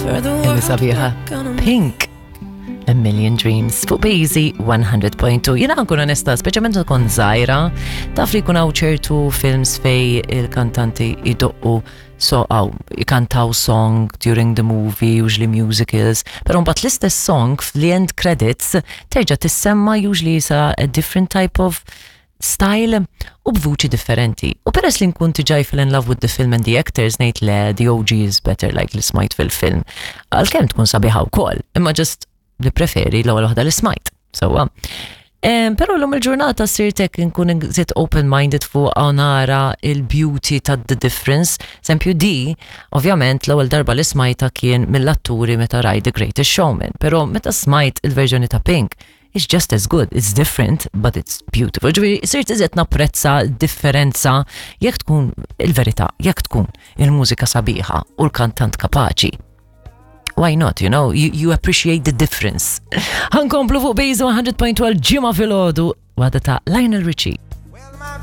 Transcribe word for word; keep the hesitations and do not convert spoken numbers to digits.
Kemm sabiħa. Pink. A Million Dreams fuq Bazy one hundred point two. Jiena nkun onesta, speċjalment tkun żgħira, taf li jkun hawn ċertu films fej il-kantanti idoqqu so għaw, ikantaw song during the movie, usually musicals, pero mbagħad l-istess song fl-end credits terġa' tissemma, usually sa a different type of style u b'vuċi differenti. U peress li nkun diġà fall in love with the film and the actors, ngħid le, the O G is better, like li smajt fil-film. Għalkemm tkun sabiħa wkoll, imma just li preferi l-ewwel waħda li smajt. Sewwa. Pero l-lum il-ġurnata sirtek nkun zit open-minded fuq għaw nara il-beauty ta' the difference. Eżempju di, ovvjament l-ewwel darba li smajta kien mill-atturi meta rajt The Greatest Showman, pero meta smajt il-verżjoni ta' Pink, it's just as good. It's different, but it's beautiful. Ġifieri, sirt iżjed napprezza differenza jekk tkun il-verità, jekk tkun il-mużika sabiħa u l-kantant kapaċi. Why not, you know? You, you appreciate the difference. Ħa nkomplu fuq Bejzu one hundred point two ġimgħa filgħodu, waħda ta' Lionel Richie.